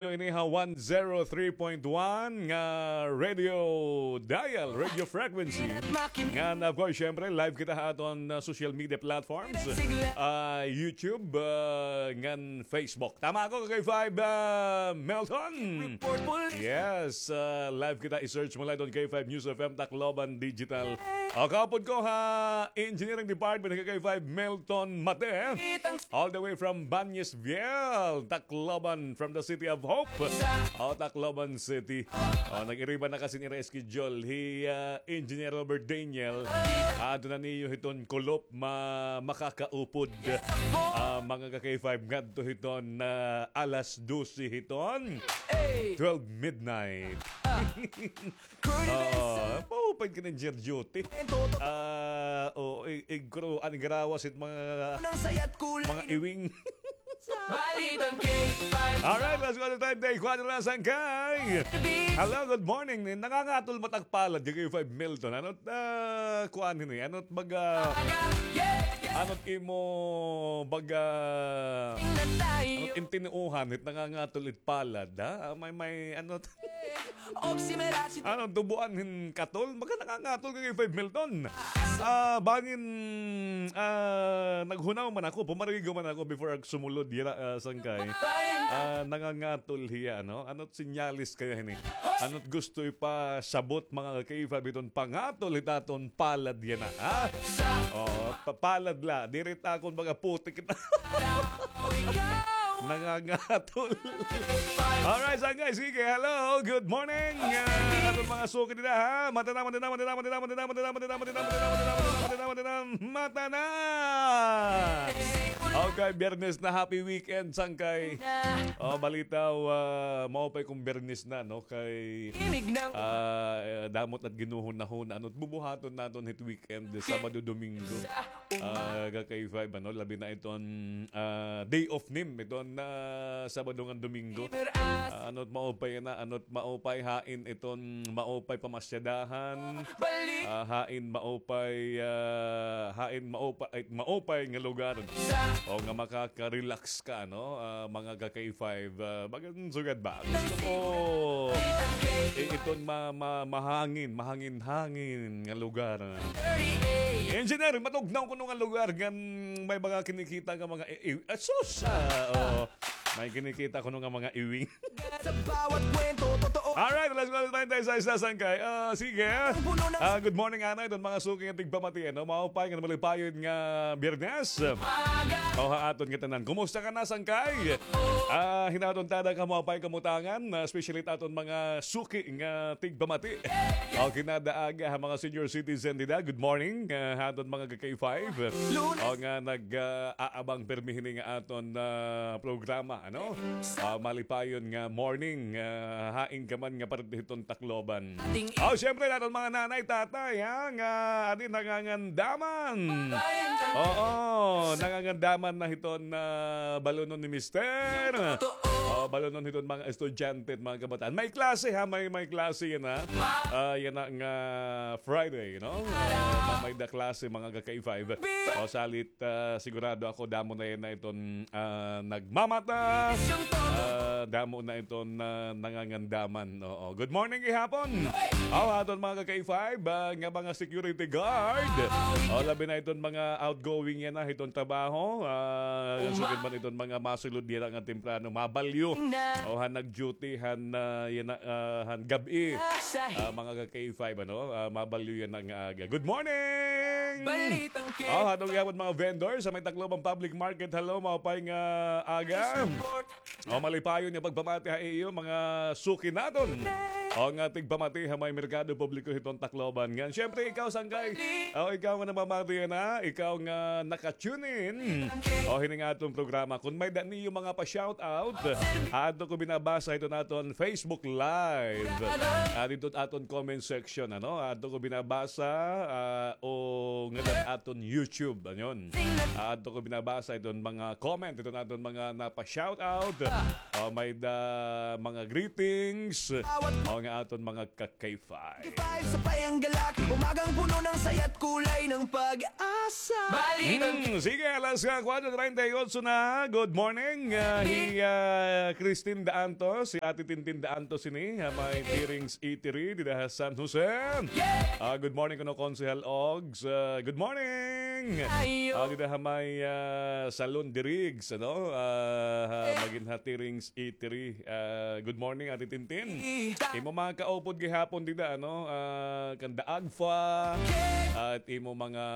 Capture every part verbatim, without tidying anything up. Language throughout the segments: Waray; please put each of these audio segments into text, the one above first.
Ini ha one zero three point one nga radio dial, radio frequency. Ngan, of course, syempre, live kita ha aton, uh, social media platforms. Uh, YouTube, uh, ngan Facebook. Tama ako, K five, uh, Melton. Yes, uh, live kita. I-search mo lang iton K five News F M Tacloban Digital. O, kaupod ko ha Engineering Department, K five Melton Mate. All the way from Bañez Vial, Tacloban, from the city of hope. O, Tacloban City. O, nag-iriba na kasi nira schedule. Hi, ah, Engineer Robert Daniel. Adto na niyo hiton kulop ma-, makakaupod. Ah, mga ka-K five ngadto hiton, ah, alas dose hiton. Twelve midnight. Oo, paupay ka ng Jer Duty. Ah, oo, i-, igro, an garawas it mga, mga iwing. Alright, let's go to time. Day kuwan na sangkay. Hello, good morning. Nangangatol matagpalad, J K five Milton. Ano't, ah, kuan hini? Ano't baga, ano't imo baga, ano't intinuuhan, it nangangatol it palad, ha? Ah, may, may, ano't Ano, tubuan hin katol? Baga nangangatol ka kay Five Milton. Ah, bangin, ah, naghunaw man ako, pumarigo man ako before ako sumulod, yara, ah, sangkay. Ah, nangangatol hiya, no? Ano't sinyalis kaya hini? Ano't gusto ipasabot, mga ka-K five, iton pangatol hit aton palad yana, ha? Oh, pa-, palad la. Diri ta akon mga putik. Nangangatol. Alright, sangkay, sige, hello, good morning. Ah, aton mga suki dida, ha? Mata na, mata na, mata na, mata na. Okay, Biyernes na, happy weekend, sangkay. Oh, balitaw, ah, maupay kon Biyernes na, no? Kay, ah, eh, damo it ginhuhunahuna, ano't bubuhaton naton hit weekend, Sabado, Domingo. Ah, ka-K five, ano, labi na iton, ah, day off nim, iton, ah, Sabado ngan Domingo. Ah, ano't maupay na, ano't maupay hain iton, maupay pamasyadahan. Ah, hain maupay, ah, hain maupay, ay, maupay nga lugar. O nga makaka-relax ka, no? Ah, mga ka-K five, ah, bagan sugad ba? Gusto ko, eh, iton ma-, ma-, mahangin, mahangin-hangin nga lugar. Engineer, matugnaw kuno nga lugar ngan may mga kinikita nga mga i-, i-, ah, sus! Ah, oo. May kinikita kuno nga mga iwing. Sa bawat kwento, totoo. Alright, let's go. Tayo, tayo sa isa, sangkay. Ah, sige. Ah, good morning, anay. Iton mga suki nga tigpamati, ano? Maupay nga malipayon nga Biyernes. O, ha aton nga tanan. Kumusta ka na, sangkay? Ah, hinaton tada ka maupay kamutangan, ah, especially it aton mga suki nga tigpamati. O, kinadaaga ha mga senior citizen dida. Good morning, ah, ha aton mga ka-K five. O, nga nag, ah, aabang pirmi hini nga aton, ah, programa, ano? Ah, malipayon nga morning, ah, hain ka man nga parte hiton Tacloban. O, syempre, aton mga nanay, tatay, ha, nga adi nangangandaman. Oo, nangangandaman na hiton, ah, balunon ni Mister. O, balunon hiton mga estudyante at mga kabataan. May klase, ha, may, may klase yana. Ah, yana nga Friday, no? Ah, may da klase, mga ka-K five. O, salit, ah, sigurado ako, damo na yana iton, ah, nagmamata. Ah, damo na iton, ah, nangangandaman. Oo. Good morning gihapon. Aw, aton mga ka-K five, ah, nga mga security guard. O, labi na iton mga outgoing yana hiton trabaho. Ah, sugad man iton mga masulod yana nga temprano, mabalyo. O, han nag-duty, han, ah, yana, ah, han gab-i. Ah, mga ka-K five, ano? Ah, mabalyo yana nga aga. Good morning! Balitang K five. O, ha aton gihapon mga vendors ha may Tacloban Public Market. Hello, maupay nga aga. O, malipayon nga pagpamati ha iyo, mga suki naton. O, nga tigpamati ha may merkado publiko hiton Tacloban. Ngan, syempre, ikaw, sangkay. O, ikaw nga namamati yana, ikaw nga naka-tune in. O, hini nga aton programa. Kon may-ada niyo mga pa-shout out, adto ko binabasa hiton aton Facebook Live. Ah, didto aton comment section, ano? Adto ko binabasa, ah, o ngada aton YouTube, ano yun? Adto ko binabasa iton mga comment, iton aton mga napa-shout out. O, may-ada mga greetings. O, Nga aton mga ka-K five. K five sa Payanggalak, umagang puno ng saya't kulay ng pag-asa. Balik ang Hmm, sige, alas kwatro treinta y ocho na. Good morning. Ah, hi, ah, Christine Daantos, si Ate Tintin Daantos ini, ha, may Tirings Eatery, dida ha San Jose. Ah, good morning kuno Konsehal Ogs. Ah, good morning. Ah, dida ha may, ah, Salon Dirigs, ano? Ah, ha, magin ha Tirings Eatery. Ah, good morning, Ate Tintin. Imo mga kaupod gihapon dida, ano? Ah, kanda Agfa. At imo mga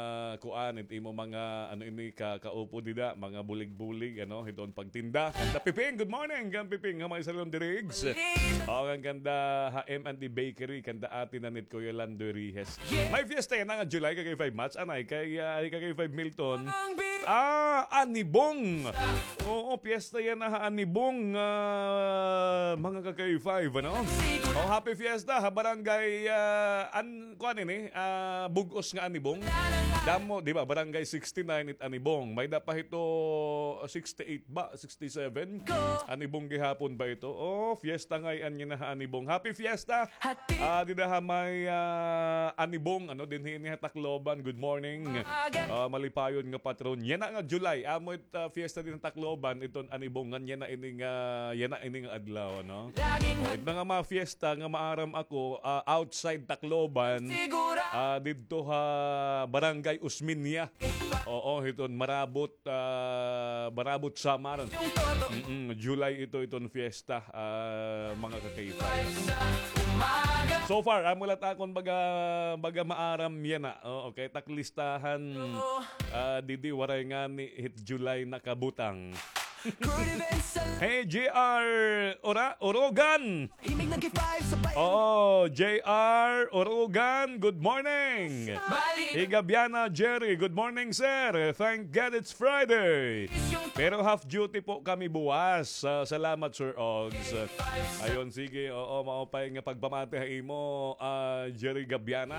kuan, at imo mga, ano ini, ka, kaupod dida, mga bulig-bulig, ano, hiton pagtinda. Kanda Piping, good morning, kan Piping, ha may Salon Dirigs. O, kan kanda ha M and D Bakery, kanda Ate Nanit, Kuya Lando Rihes. May fiesta yana nga July, ka-K five Mats, anay, kay, ah, kay ka-K five Milton. Ah, Anibong. Oo, piyesta yana ha Anibong, ah, mga ka-K five, ano? Oh, happy fiesta ha barangay, ah, an, kuan ini, ah, Bug-os nga Anibong. Damo, di ba? Barangay sixty-nine it Anibong. May-ada pa hito, sixty-eight ba? Sixty-seven? Anibong gihapon ba ito? Oh, fiesta ngay-an yana ha Anibong. Happy fiesta! Ah, dida ha may, ah, Anibong, ano, dinhi ini ha Tacloban. Good morning. Ah, malipayon nga patron. Yana nga July, amo it, ah, fiesta dinhi ha Tacloban, iton Anibong, ngan yana ini nga, yana ini nga adlaw, ano? It mga, mga fiesta nga maaram ako, ah, outside Tacloban, ah, didto ha Barangay Osmeña. Oo, hiton Marabot, ah, Marabot, Samar. Mm-mm, July ito, iton fiesta, ah, mga ka-K five. So far, amo la it akon baga, baga maaram yana. Oo, kay it ak listahan, ah, didi waray ngani hit July nakabutang. Hey, J R Ora-, Orogan. Oh, J R Orogan, good morning. Higabiana Jerry, good morning, sir. Thank God it's Friday. Pero half duty po kami buwas. Ah, salamat, Sir Ogs. Ayon, sige, oo, maupay nga pagpamati ha imo, ah, Jerry Gabiana.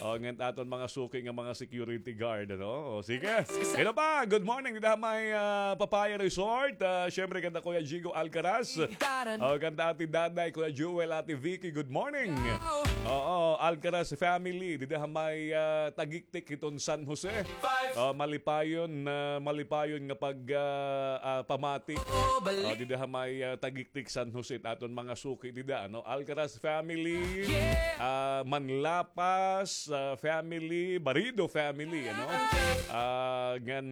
O, ngan aton mga suki nga mga security guard, ano? O, sige. Hello pa, good morning dida ha may, ah, Papaya Resort. Ah, syempre, kanda Kuya Jigo Alcaraz. O, kanda Ate Daday, Kuya Jewel, Ate Vicky, good morning. Oo, Alcaraz family, dida ha may, ah, Tagiktik hiton San Jose. Ah, malipayon, ah, malipayon nga pag, ah, ah, pamati. Ah, dida ha may, ah, Tagiktik, San Jose, aton mga suki dida, ano? Alcaraz family, ah, Manlapas, ah, family, Barido family, ano? Ah, ngan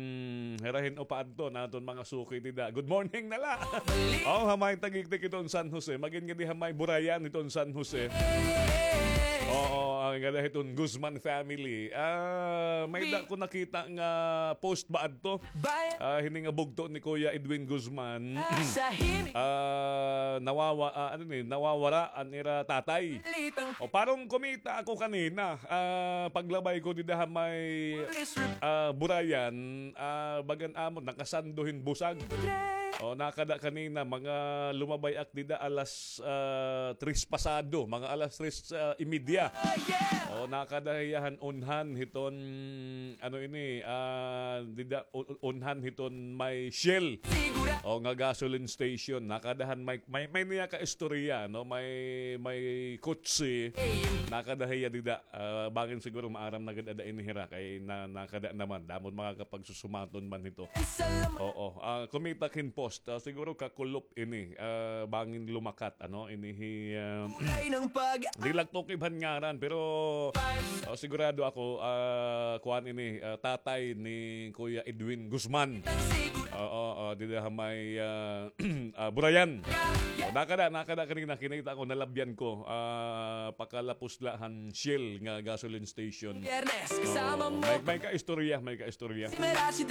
hirahin upa adto naton mga suki dida. Good morning na la. Oh, ha may Tagiktik iton San Jose. Magin nga di ha may Burayan iton San Jose. Oo, ang ganda hiton Guzman family. Ah, may-ada ko nakita nga post ba adto? Ah, hini nga bugto ni Kuya Edwin Guzman. Ah, nawawa-, ah, ano ni, nawawara an ira tatay. O, parang kumita ako kanina. Ah, paglabay ko dida ha may, ah, Burayan, ah, bagan amon, nakasando hin busag. O, nakada kanina, mga lumabay ak dida alas, ah, tres pasado, mga alas tres, ah, y media. O, nakada hiya han unhan hiton, ano ini, ah, dida, u-, u-, unhan hiton may Shell. O, nga gasoline station. Nakada han may, may, may niya ka istorya, no? May, may kutsi. Nakada hiya dida. Ah, bangin siguro maaram na gad ada ini hira kay na, nakada naman. Damo it mga kapagsusumaton man hito. Oo. Ah, kumita ak hin post. Ah, siguro kakulop ini. Ah, bangin lumakat, ano? Ini hi, ah, di la ak tukib han ngaran, pero, ah, sigurado ako, ah, kuan ini, ah, tatay ni Kuya Edwin Guzman. Oo, oo, dida ha may, ah, ah, Burayan. O, nakada, nakada kanina, kinita ko, nalabyan ko. Ah, pakalapos la han Shell nga gasoline station. Oo, may, may kaistorya, may kaistorya.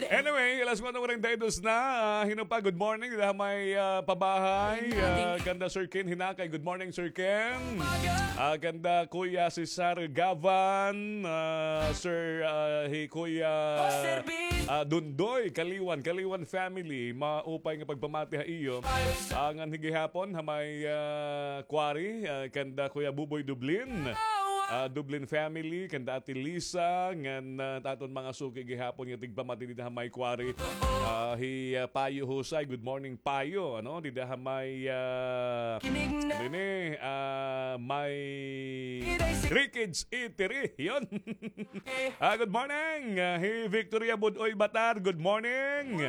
Anyway, alas kwatro kuwarenta y dos na. Ah, hin-o pa, good morning. Dida ha may, ah, Pabahay. Ah, kanda Sir Ken Hinakay. Good morning, Sir Ken. Ah, kanda Kuya Cesar Gavan. Ah, Sir, ah, hi Kuya, ah, Dundoy, Kaliwan, Kaliwan family. Maupay nga pagpamati ha iyo. Ah, ngan hi gihapon ha may, ah, Quarry, ah, kanda Kuya Buboy Dublin. Ah, Dublin family, kanda Ate Lisa, ngan, ah, aton mga suki gihapon nga tigpamati dida ha may Quarry. Ah, hi, ah, Payo Husay, good morning, Payo, ano, dida ha may, ah, ano ini, ah, may Rickage Eatery. Yun. Ah, good morning. Ah, hi Victoria Budoy Batar, good morning.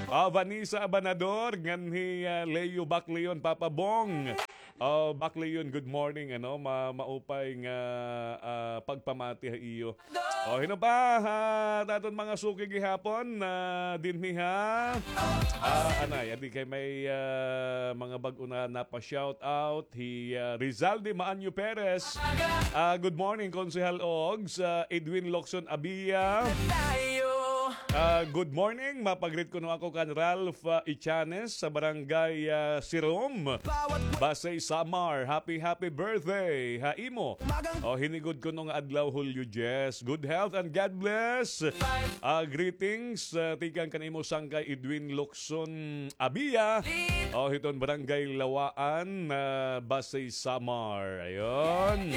Ah, Vanessa Abanador, ngan hi, ah, Leo Bacleon, Papa Bong. Ah, Bacleon, good morning, ano, ma-, maupay nga, ah, pagpamati ha iyo. O, hino pa, ha, aton mga suki gihapon, ah, dinhi ha. Ah, anay, adi kay may, ah, mga bag-o na napa-shout out. Hi, ah, Rizaldi Maanyo Perez. Ah, good morning, Konsehal Ogs. Ah, Edwin Locson Abia. Ah, good morning. Mapagreet kuno ako kan Ralph, ah, Ichanes sa barangay, ah, Sirom, Basey, Samar. Happy, happy birthday ha imo. O, hinigod kuno nga adlaw, Julio Jess. Good health and God bless. Ah, greetings, ah, tikang kan imo sangkay Edwin Locson Abia. O, hiton Barangay Lawaan, ah, Basey, Samar. Ayun.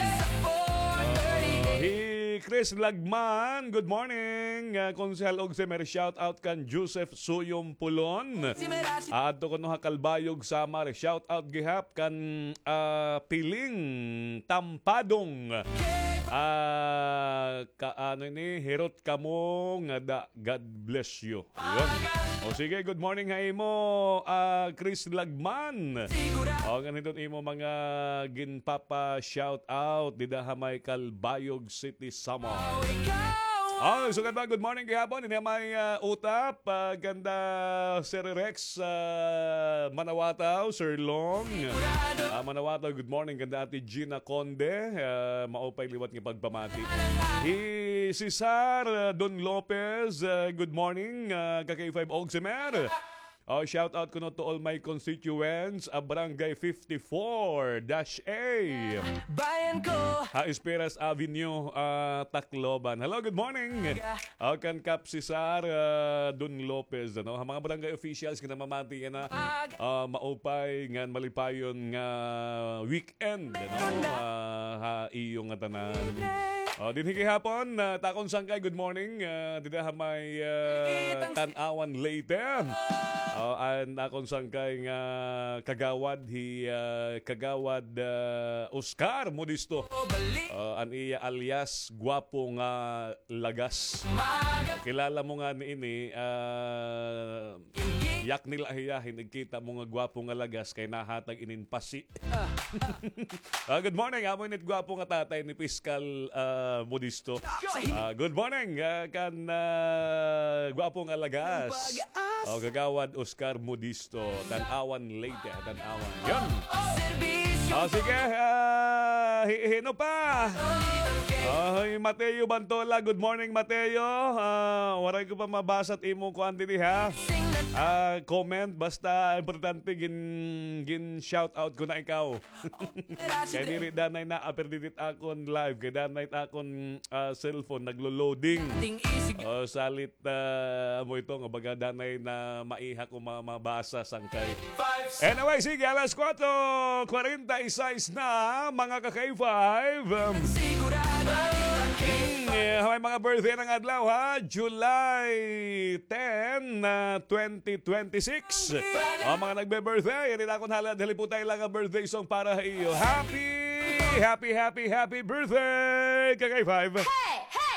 Hi Chris Lagman, good morning. Ah, Konsehal Ogse, may shout out kan Joseph Suyom Pulon. Ah, adto kuno ha Calbayog, Samar. Shout out gihap kan, ah, Piling Tampadong. Ah, ka, ano ini, hirot kamo ngada, God bless you. Yun. O sige, good morning ha imo, ah, Chris Lagman. O, ngan hiton imo mga ginpapa-shout out dida ha may Calbayog City, Samar. O, sugad pa, good morning gihapon. Ini may, ah, utap, ah, kanda Sir Rex, ah, Manawataw, Sir Long. Ah, Manawataw, good morning kanda Ate Gina Conde. Ah, maupay liwat nga pagpamati. Hi Cesar, ah, Don Lopez, ah, good morning, ah, ka K five Ogse Mer. Oh, shout out kuno to all my constituents, ah, Barangay fifty-four dash A. Bayan ko. Ha Esperas Avenue, ah, Tacloban. Hello, good morning. Oh, kan Kap Cesar, ah, Don Lopez, ano, ha mga barangay officials nga namamati yana, ah, maupay ngan malipayon nga weekend, ano, ah, ha iyo ngatanan. Oh, dinhi gihapon, ah, it akon sangkay, good morning, ah, dida ha may, ah, Tan-awan, Leyte. Oh, an akon sangkay nga kagawad, hi, ah, Kagawad, ah, Oscar Modisto. Oh, an iya alias, gwapo nga lagas. Kilala mo ngani ini, ah, yak nila hiya, hin igkita mo nga gwapo nga lagas kay nahatag inin pasi. Ah, good morning. Amo ini it gwapo nga tatay ni Piskal, ah, Modisto. Ah, good morning, ah, kan, ah, gwapo nga lagas. Oh, Kagawad Oscar Modisto, Tan-awan, Leyte, Tan-awan. Yun. Oh, sige, ah, hi-, hino pa? Oh, hi Mateo Bantola. Good morning, Mateo. Ah, waray ko pa mabasa it imo kuan diri, ha? Ah, comment, basta importante gin, gin shout out ko na ikaw. Kay diri danay na appear didi it akon live, kay danay it akon, ah, cellphone naglo-loading. Oh, salit, ah, amo ito nga baga danay na maiha ko ma-, mabasa sangkay. Anyway, sige, alas kuwatro kwarenta y seis na, mga ka-K five. Hmm, eh, may mga birthday ng adlaw, ha? July ten, ah, twenty twenty-six. O, mga nagbe-birthday, rin akon halad, haliputay lang ang birthday song para ha iyo. Happy, happy, happy, happy birthday, ka-K five.